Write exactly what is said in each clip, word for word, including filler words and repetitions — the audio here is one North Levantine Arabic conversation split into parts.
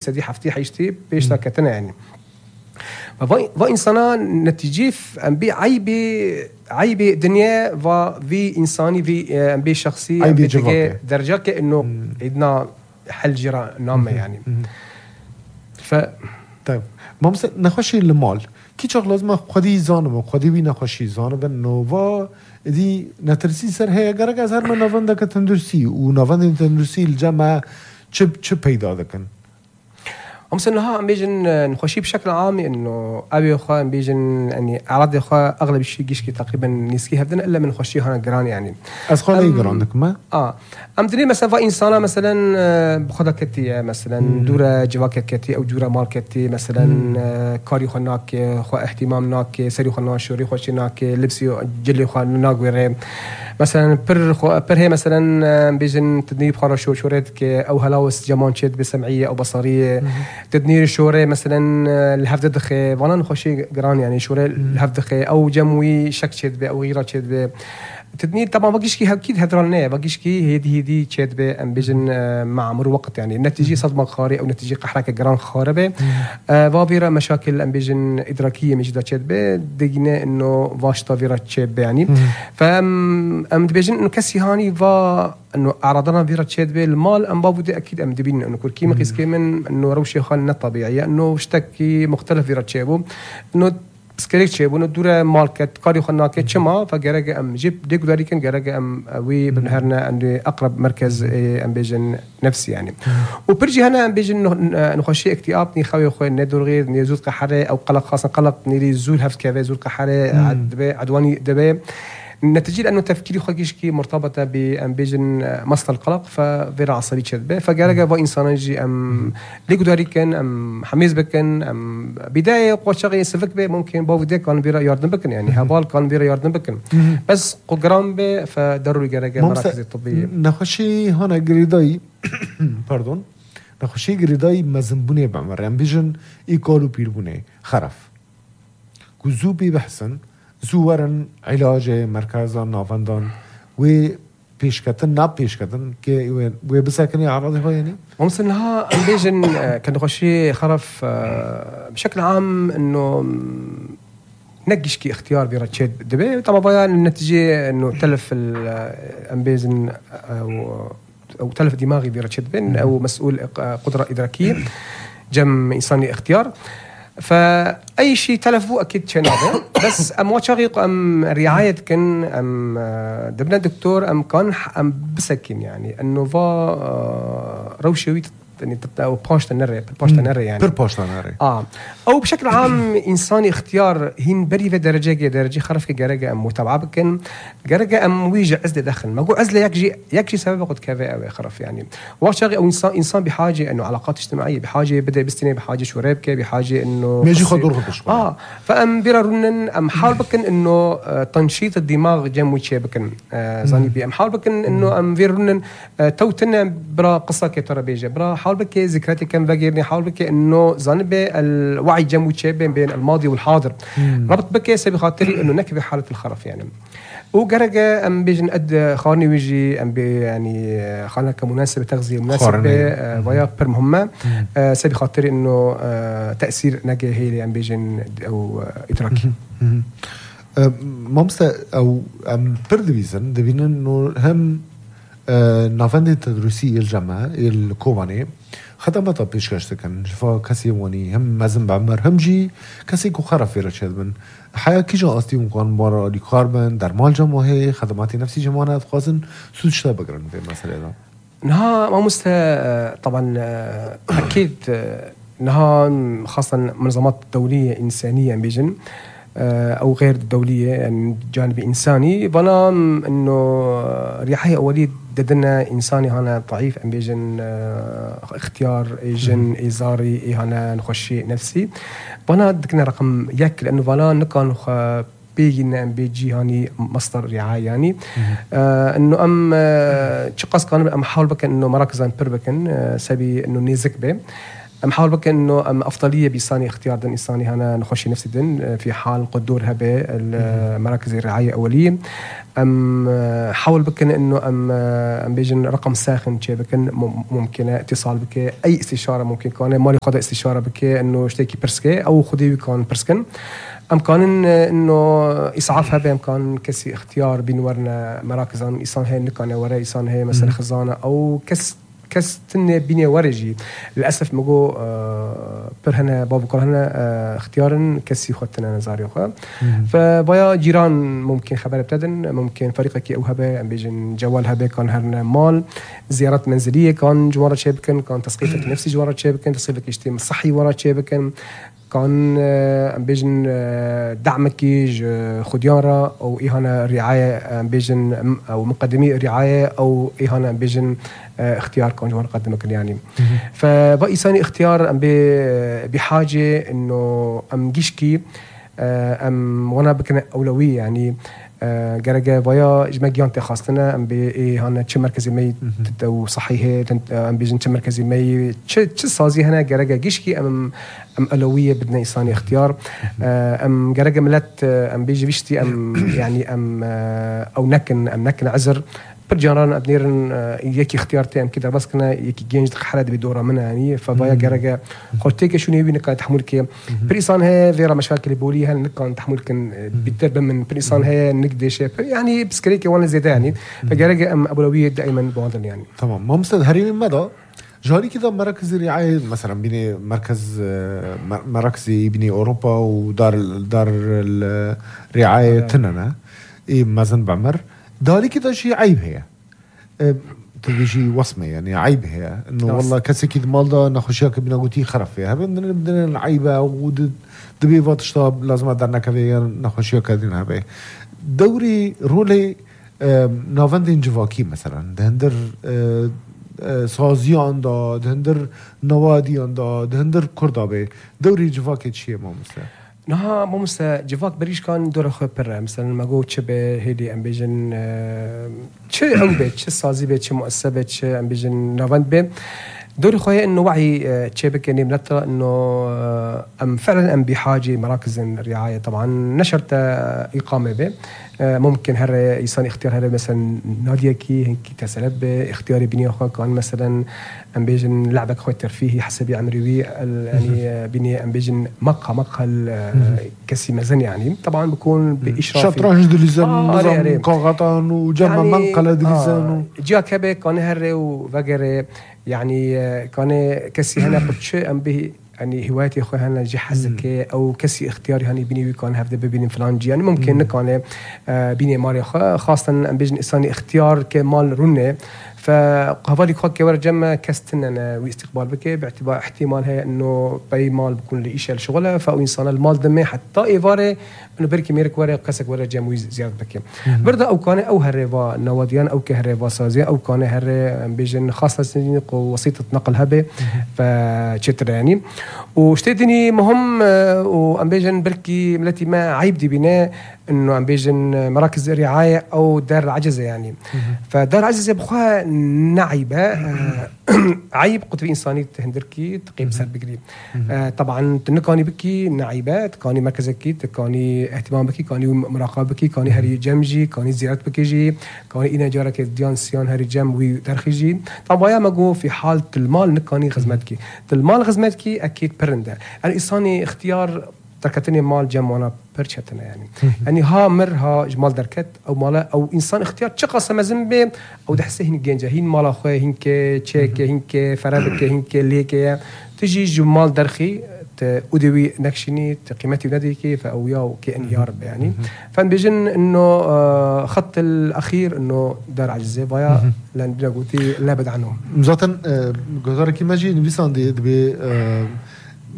سدي حفتي حيشتي بيشتا كتنا يعني فا فا إنسانا نتيجيف أم بي عيبي عيبي دنيا فا في إنساني في أم بي شخصي عيبي جواكي درجة كأنه عندنا حل جرا نامة يعني ف طيب ما مثلا نخوشي المال كي شغلات ما خدي زانم خدي بي نخوشي زانم إنه فا دي نترسي سر هي جرا زهر من نافندا كتندرسي ونافندا كتندرسي الجامعة شب شب هيدا ذكن أمس إنه ها بيجن نخشي بشكل عام إنه أبي أخوة بيجن يعني أعرض أخوة أغلب الشيء جيشكي تقريبا نسكي هبدنا إلا من خشي هنا جران يعني أسخال أي جران ما آه أم دني مثلا فإنسانة مثلا بخدا كتي مثلا دورة جواك كتي أو دورة مال كتي مثلا كاري خناك خو اهتمام ناك سري خنا شوري خوشي ناك لبسي جلي خو ناقوري مثلا بر خو بر هي مثلا بيجن تدنيب خارا شو شوريت ك أو هلاوس جمان شد بسمعية أو بصرية تدنير شوري مثلا الهفد دخي وانا نخشي جران يعني شوري الهفد دخي أو جموي شك شد أو غيره شد تدنير طبعا باقيش كي أكيد هدرالنا باقيش كي هدي هدي شد ب أم بيجن مع مر وقت يعني النتيجة صدمة خاري أو نتيجة قحرك جران خاربة فابيرا مشاكل أم بيجن إدراكية مش دا شد ب دقينا إنه واشتا فيرا شد يعني فأم أم بيجن إنه كسي هاني فا إنه أعرضنا فيرا شد بالمال أم بابو دي أكيد أم دبين إنه كل كيما قيس كيمن إنه روشي خالنا طبيعية إنه اشتكي مختلف فيرا شابو إنه سكريك شيء بنو دورة مالكت كاري خناك شما فجرج أم جيب ديك داري كان جرج أم وي بنهرنا عند أقرب مركز أم بيجن نفسي يعني وبرجي هنا أم بيجن نخشي اكتئاب نخوي خوي ندور غير نزول قحرة أو قلق خاصة قلق نري زول هفت كذا زول قحرة عد عدواني دبي النتيجة أنه تفكيري خاكيش كي مرتبطة بأم بيجن مصدر القلق ففيرا عصبي شد فجرجة وإنسان يجي أم ليكو داري كان أم حميز بكن أم بداية قوة شغي سفك به ممكن بوفدي كان فيرا ياردن بكن يعني هبال كان فيرا ياردن بكن بس قجرام به فضروري جرجة مراكز الطبية نخشي هنا جريداي باردون نخشي جريداي مزنبوني بعمر أم بيجن إيكالو بيربوني خرف كوزوبي بحسن زورن علاج مركزا نافندان و پیشکتن ناب پیشکتن که و بسکنی عرضی ها يعني ممكن لها بيجن كان نخشي خرف بشكل عام انه نقش كي اختيار بيرتشد دبي طبعا بيان النتيجه انه تلف الامبيزن او او تلف دماغي بيرتشد بين او مسؤول قدره ادراكيه جم انساني اختيار فأي شيء تلفوا أكيد شنابه بس أم وشغيق أم رعاية كن أم دبنا دكتور أم كان أم بسكين يعني إنه فا روشوي يعني أو باشتا نري باشتا نري يعني بير باشتا نري آه أو بشكل عام إنساني اختيار هين بري في درجة درجة خرف كجرجة أم متابعة بكن جرجة أم ويجي عزل دخل ما هو عزل يكجي يكجي سبب قد كذا أو خرف يعني وشغي أو إنسان إنسان بحاجة إنه علاقات اجتماعية بحاجة بدأ بستني بحاجة شرابك بحاجة إنه ماشي خدور خدش آه فأم بيررنن أم حال بكن إنه تنشيط الدماغ جم وشيء بكن آه زاني بي أم حال بكن إنه أم بيررنن آه توتنا برا قصة كتر بيجي برا حال بك ذكرياتي كان بغيرني حاول بك انه زانب الوعي جمع بين بين الماضي والحاضر ربط بك سبي خاطري انه نكبه حاله الخرف يعني وجرجة ام بيجن قد خاني ويجي ام بي يعني خانا كمناسبه تغذيه مناسبه ويا بر مهمه سبي خاطري انه تاثير نجاهي ام بيجن او ادراكي مامسا او ام بردويزن دبين انه هم نافندي تدريسي الجامعه الكوفاني خدمات بيشكش كان فا كسي واني هم مازن بعمر هم جي كسي كو خرف في رشاد من حياة كي جا أصلي مكان مرة لكاربن در مال جمعه خدماتي نفسي جمعنا خازن سود شتا بقرن في المسألة ده نها ما مستا طبعا أكيد نها خاصة منظمات دولية إنسانية بيجن أو غير دولية يعني جانب إنساني بنام إنه ريحية أولية ددنا إنساني هنا ضعيف أم بيجن اختيار إيجن إزاري هنا نخشي نفسي بنا دكنا رقم يك لأنه بنا نكان خ بيجينا أم بيجي هاني مصدر رعاية يعني آه إنه أم آه شقص كان أم حاول بكن إنه مراكزان بر بكن آه سبي إنه نيزك به محاول بك انه ام افضليه بإنساني اختيار دن انساني هنا نخشي نفسي دن في حال قدور هبه مراكز الرعايه اوليه. ام حاول بك انه ام ام بيجن رقم ساخن شي بك ممكن اتصال بك اي استشاره ممكن كان مالي قضاء استشاره بك انه اشتكي برسكي او خدي كان برسكن امكان انه اسعاف هبه امكان كسي اختيار بينورنا مراكز انسان هي نكانه ورا انسان هي مثلا خزانه او كس كستني بيني ورجي للاسف مجو آه برهنا بابو كرهنا آه اختيارا كسي خدتنا نزاري خا فبايا جيران ممكن خبر ابتدن ممكن فريقك او هبه ام بيجن جوال هبه كان هرنا مال زيارات منزليه كان جواره شبكن كان تسقيفك نفسي جواره شبكن تسقيفك اجتماع صحي ورا شبكن كان ام بيجن دعمك خديارة او اهانه رعايه ام بيجن او مقدمي رعايه او اهانه ام بيجن اختيار كون جوان قدمك يعني فبقي ثاني اختيار ام بحاجه انه ام جيشكي ام وانا بكنا اولويه يعني جرجا بايا جماجيانتي خاصتنا ام بي هنا تش مركزي مي تو صحيح ام بيجن تش مركزي مي تش صازي هنا جرجا جيشكي ام ام اولويه بدنا انسان اختيار ام جرجا ملت ام بيجي بيشتي ام يعني ام او نكن ام نكن عذر برجعنا أبنيرن يكي اختيارتين كده بس كنا يكي جينج حرد بدورة منها يعني فبايا جرجا قلتك شو نبي نكان تحمل كي بريسان هي فيرا مشاكل بوليها نكان تحمل كن بترب من بريسان هي نقدش يعني بسكريكي وانا زيادة يعني فجرجا أم أولوية دائما بعضن يعني. تمام ما مستد هري من مدى جاري كده مراكز الرعاية مثلا بيني مركز مراكز بيني أوروبا ودار دار الرعاية تننا إيه مازن بعمر داري كده شيء عيب هي أه تجي وصمة يعني عيب هي إنه والله كسكيد مالدا نخشيك بنا قوتي خرف فيها بدنا بدنا العيبة ودبي فات شطاب لازم أدرنا كذا نخشيك هذين هبه دوري رولي أه نافندين جواكي مثلا دهندر أه أه سازيان دا دهندر نواديان دا دهندر كردابه دوري جواكي شيء ما مثلا نها مو مثلا جواك بريش كان دور خو برا مثلا ما جو تشبه هيدي ام بيجن تش او بيت تش سازي بيت تش مؤسسه بيت تش ام بيجن نافند بي دوري خويا انه وعي تشبك يعني بنطلع انه ام فعلا ام بحاجه مراكز الرعايه طبعا نشرت اقامه به ممكن هر يصير اختيار هذا مثلا ناديه كي هنكي تسلب اختياري بني اخو كان مثلا ام بيجن لعبك خو ترفيهي حسب عمري يعني بني ام بيجن مقهى مقهى كسي مزن يعني طبعا بكون باشراف شطرنج دليزان نظام قاغطان وجمع يعني منقله دليزان جا كبه كان هر وفجر يعني كان كسي هنا قدش ام به يعني هوايتي اخوي هنا جي حزك او كسي اختياري هني بيني كان هفده بيني فلانجي يعني ممكن كان بيني ماري خاصه ام بيجن انساني اختيار كمال رنه فهذا خوك ورجم كستنا واستقبال بك باعتبار احتمال هي انه باي مال بكون لي شيء شغله فاو انسان المال دمه حتى ايفاره انه بركي ميرك ورا قسك ورا جم زياده بك برده او كان او هربا نواديان او كهربا سازي او كان هر بيجن خاصه وسيطه نقل هبه فتشتر يعني واشتدني مهم وام بيجن بركي ملتي ما عيب دي بناء انه عم بيجن مراكز الرعايه او دار العجزه يعني فدار العجزه بخوا نعيبه عيب قطب انساني تهندركي تقيم سر بقريب طبعا تنكاني بكي نعيبه كاني مركزكي كاني اهتمام بكي كاني مراقبه بكي كاني هري جمجي كاني زيارات بكيجي كاني انا جارك ديان سيان هري جم وي درخيجي طبعا ما جو في حاله المال نكاني خدمتكي المال خدمتكي اكيد برنده يعني انساني اختيار تركتني مال جم وانا برشتنا يعني يعني ها مر ها جمال دركت او مالا او انسان اختيار شقص مزنبه او دحسه هين جنجه هين مال اخوه هينك تشيك هينك فرابك هينك ليك تجي جمال درخي ادوي نكشني قيمتي وناديكي فاويا كان يا رب يعني فبيجن انه خط الاخير انه دار عجزه بايا لان قلتي لابد عنهم مزاتن جزارك ما جي نبيسان دي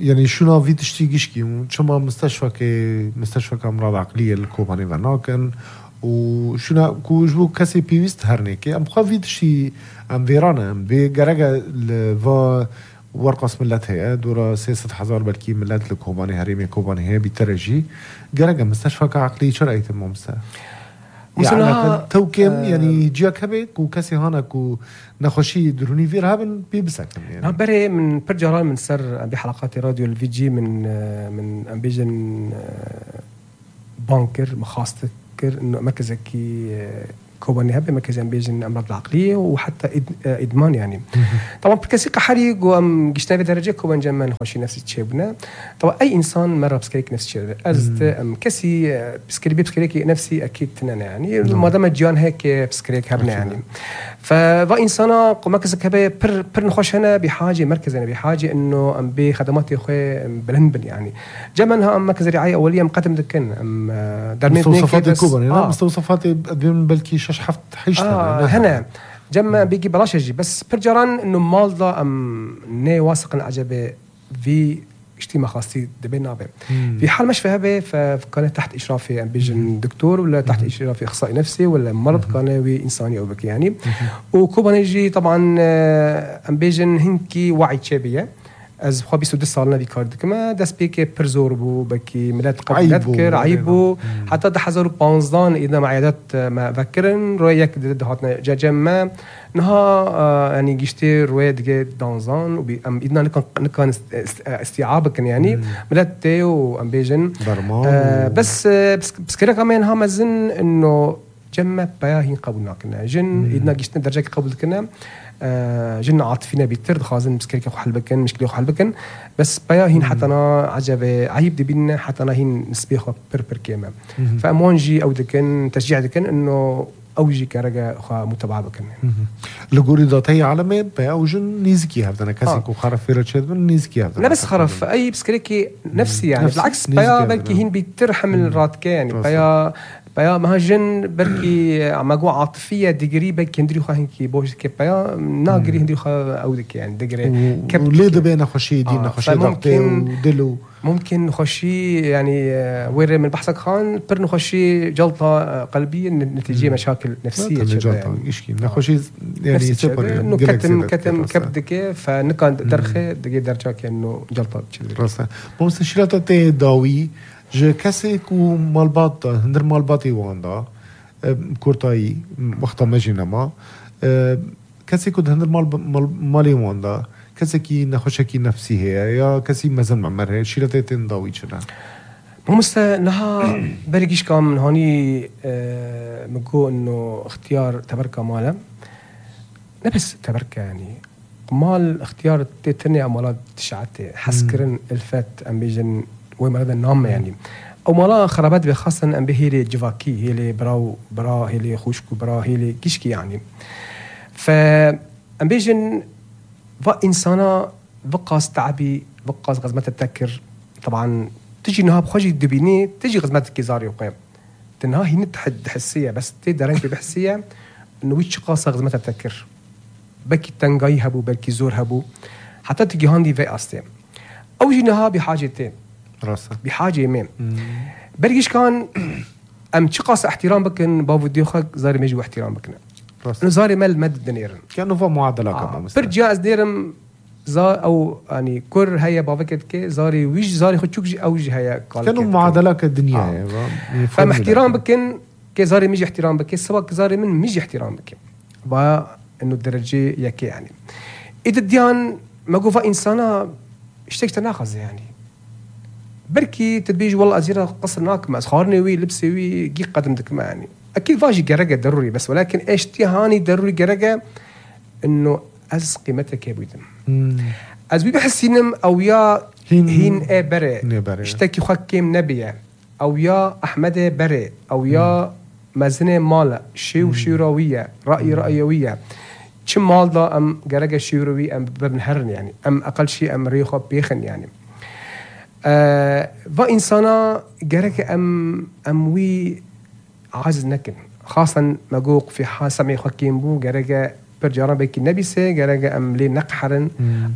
يعني شو نافي تشتيجيشكي وشما مستشفى كي مستشفى كأمراض عقلية الكوباني فناكن وشو كوجبو كسي بيوست هرنيكي أم خافي تشي أم فيرانا أم بجرجة الفا ورقص ملات هي دورا سياسة حزار بالكي ملات الكوباني هريمي كوباني هي بترجي جرجة مستشفى كعقلية شرعية الممسى يعني توكم آه يعني جياك هبك وكسي هانك ونخوشي دروني فير هابن بيبسكم يعني نعم بري من برجران من سر بحلقات راديو الفي جي من من امبيجن بانكر مخاصتك انه مركز كي كوباني هبه مركز امبيجن امراض العقليه وحتى ادمان يعني طبعا بركسي قحري وام جشنا بدرجه كوبان جما نخوشي نفسي تشيبنا طبعا اي انسان مره بسكريك نفسي تشيب ازت ام كسي بسكري بسكريك نفسي اكيد تنانا يعني ما دام جيان هيك بسكريك هبنا يعني فبا انسان مركز هبه بر بر نخوش هنا بحاجه مركز انا بحاجه انه ام بخدمات اخوي بلنبل يعني جمنها ام مركز رعايه اوليه مقدم دكن ام درمي مستوصفات كوباني آه. مستوصفات بلكي شحفت حيشتغل آه هنا جمع بيجي بلاش يجي بس برجران انه مالضا ام ني واثق العجبه في اجتماع خاصي دبينا به في حال مش فيها فكان تحت اشرافي ام بيجن دكتور ولا تحت اشرافي اخصائي نفسي ولا مرض كان وي انساني او بك يعني وكوبا نيجي طبعا ام بيجن هنكي وعي تشابيه از خو بيسو دسالنا في كارد كما داس بيكي برزوربو بكي ملات قبل نذكر عيبو حتى ده حزروا بانزدان اذا معيادات ما فكرن رويك دد هاتنا جاجما نها آه يعني جشتي روي دغ دانزان وبي ام اذا نكون نكون استيعابك يعني ملات تيو امبيجن آه بس بس بس كده كمان ها مازن انه جمع بياهين قبلنا كنا جن اذا جشتنا درجه قبل كنا آه جن عاطفينا بيتر خازن بس كيك حل بكن مشكله حل بكن بس بيا هين حتى انا عجب عيب دي بينا حتى انا هين نسبيخ بر بر كيما فامونجي او دكن تشجيع دكن انه اوجي كرجا خا متابعه بكن لغوري ذاتي علامه بيا او جن نيزكي هذا كاسيك وخرف في رشد من نيزكي هذا لا بس خرف اي بسكريكي نفسي يعني نفس بالعكس بيا بلكي هين بيترحم الراتكه يعني بيا بيا مهاجن بركي عماقو عاطفية دقري بك هندري خا هنكي بوش كي بيا ناقري هندري خا أودك يعني دقري وليه دبينا خشي دينا خشي ضغطي ودلو ممكن نخشي يعني وير من بحثك خان بر نخشي جلطة قلبية نتيجة مشاكل نفسية جلطة إيش نخشي يعني سوبر إنه كتم كتم كبدك فنكان درخة دقي درجة إنه جلطة راسا بس شيلات تي داوي je كاسيك ومالباط هندر مالباطي واندا كورتاي وقتا مجينما كاسيك هندر مال مالي واندا كاسيكي نخشكي نفسي هي يا كاسي مازال معمر شيلتي تنداوي شنا ممسا نها بريجيش كام هاني مقو انه اختيار تبركه ماله نفس تبركه يعني مال اختيار تتني امالات تشعتي حسكرن الفات امبيجن ومرض النوم يعني او مالا خرابات بخاصه ام بهيلي جواكي هيلي براو برا هيلي خوشكو برا هيلي كيشكي يعني ف ام بيجن فا انسانه بقاس تعبي بقاس غزمه التذكر طبعا تجي نهاب خوجي دبيني تجي غزمه كيزاري وقيم تنها هي نتحد حسيه بس تقدر انت بحسيه انه ويتش قاصه غزمه التذكر بكي تنغاي هبو بلكي زور هبو حتى تجي هاندي في استي او جينها بحاجتين راسا بحاجه يمين برجيش كان ام تشقاس احترام بكن بابو ديوخك زاري ميجي احترام بكنا راسا زاري مال مد دنيرن كانوا فا معادله آه. كمان برجع از ديرم زار او يعني كر هيا بابكت كي زاري ويش زاري خدشوك او جي هيا كانوا معادله الدنيا آه. فم احترام بكن كي زاري ميجي احترام بكي سواء زاري من ميجي احترام بكي با انه الدرجه ياكي يعني اذا ديان ما قوفا انسانه اشتكت ناخذ يعني بركي تدبيج والله أزيرة قصر ناك ما أسخارني وي لبسي وي جي قدمتك ما يعني أكيد فاجي جرجة ضروري بس ولكن إيش تيهاني ضروري جرجة إنه أز قيمتك يا بيتم أز بي بحس ينم أو يا هين, هين إيه بري اشتكي خكيم نبيه أو يا أحمد بري أو يا مزنة مالا شيو شيروية رأي رأيوية كم مال ده أم جرجة شيروي أم ببنهرن يعني أم أقل شيء أم ريخو بيخن يعني آه فإنسانا جرك أم أموي عاجز نكن خاصة مجوق في حال سمي خكيم بو جرك برجارا بيك النبي سي جرك أم لي نقحرن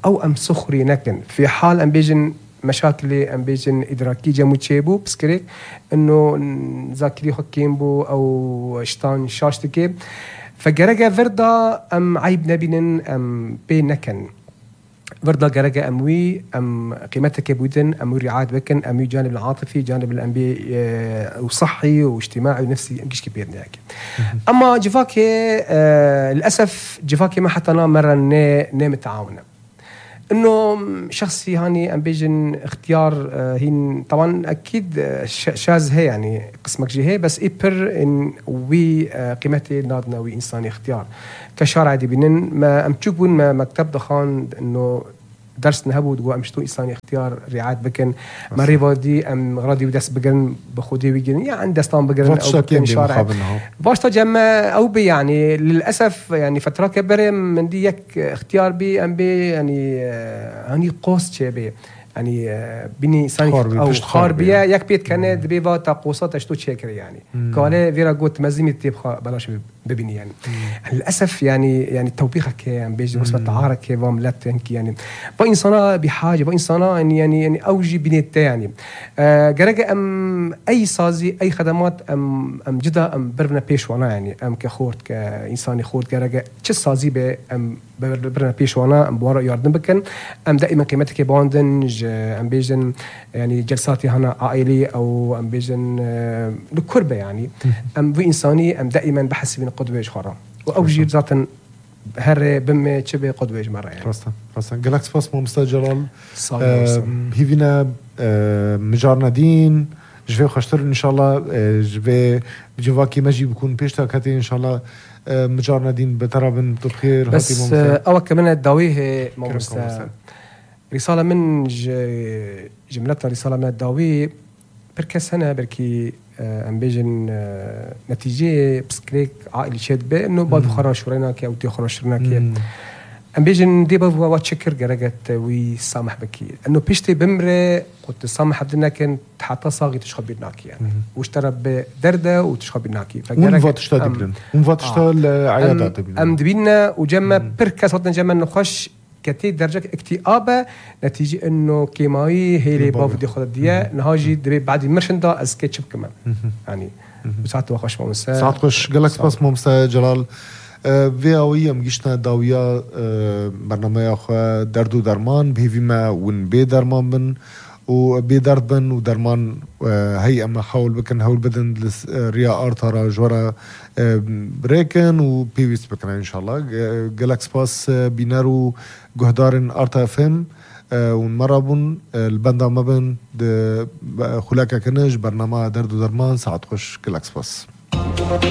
أو أم سخري نكن في حال أم بيجن مشاكل أم بيجن إدراكي جمو تشيبو بسكريك إنه ذاكري خكيم بو أو شتان شاشتكي فجرك فردا أم عيب نبين أم بي نكن برضه جرجة أموي أم قيمتك بودن أموي رعاية بكن أموي جانب العاطفي جانب الأنبي وصحي واجتماعي ونفسي مش كبير نياك. أما جفاكي آه للأسف جفاكي ما حتى أنا مرة نام تعاونه إنه شخصي هاني أم بيجن اختيار آه هين طبعا أكيد شاذ هي يعني قسمك جي هي بس إبر إن وي آه قيمتي نادنا وي إنساني اختيار كشارع دي بينن ما أم تشوفون ما مكتب دخان إنه درس نهبود جو أمشتو إنساني اختيار رعاية بكن ما ريفا دي أم غراضي ودس بقرن بخودي ويجن يعني دستان بقرن أو بكن شارع باشتا جمع أو بي يعني للأسف يعني فترة كبيرة من دي يك اختيار بي أم بي يعني هني قوس شبه يعني بني إنساني أو خاربية يك بيت كان دبيبا تقوسات أشتو تشكر يعني كله فيرا قلت مزيمة تبخ بلاش ببني يعني للأسف يعني يعني توبيخك يعني بيجي بس بتعارك كيفام لا تنكي يعني بإنسانا بحاجة بإنسانا يعني يعني يعني أوجي بنيته يعني جرجة أم أي صازي أي خدمات أم أم جدا أم برنا بيشوانا يعني أم كخورت كإنساني خورت جرجة شو صازي ب أم برنا بيشوانا أم بورا ياردن بكن أم دائما قيمتك باندن أم بيجن يعني جلساتي هنا عائلية أو أم بيجن لكربة يعني أم في إنساني أم دائما بحس بين قدوة خرا وأوجي ذاتا هر بم شبه قدوة مرة يعني راسا راسا جالاكس باس مو مستجلال هي فينا مجارنا دين جفي خشتر إن شاء الله جفي جواكي مجي بيكون بيشتا كاتي إن شاء الله مجارنا دين بترابن بخير بس أول كمان الداويه موسى رسالة من جملتنا رسالة من الداويه بركة سنة بركي أم بيجن نتيجة بسكريك عائلي شد به إنه بعض خرنا شورينا كي أو تي خرنا شورينا كي أم بيجن دي بفوا واتشكر جرجت ويسامح بكي إنه بيشتي بمرة قلت سامح بدنا كن حتى صاغي تشخبي ناكي يعني واشترى بدردة وتشخبي ناكي ونفات اشتاد بلن ونفات اشتاد عيادات أم دبينا وجمع بركة صوتنا جمع نخش كتير درجة اكتئابة نتيجة إنه كيماوي هي اللي باف دي خد ديا نهاجي دبي بعد مرشندا أسكتشب كمان يعني وساعات وخش ممسا ساعات خش جالكس باس ممسا جلال في أوي مجيشنا داوية برنامج أخو دردو درمان بهذي ما ون بي درمان بن وبيدرد بن ودرمان هي أما حاول بكن حاول بدن ريا أرتارا جورا بريكن وبيفيس بكن إن شاء الله جالاكس باس بينارو جهدارن أرتا فيم ونمرابون البندا ما بين خلاك كنج برنامج دردو درمان ساعد خش جالاكس باس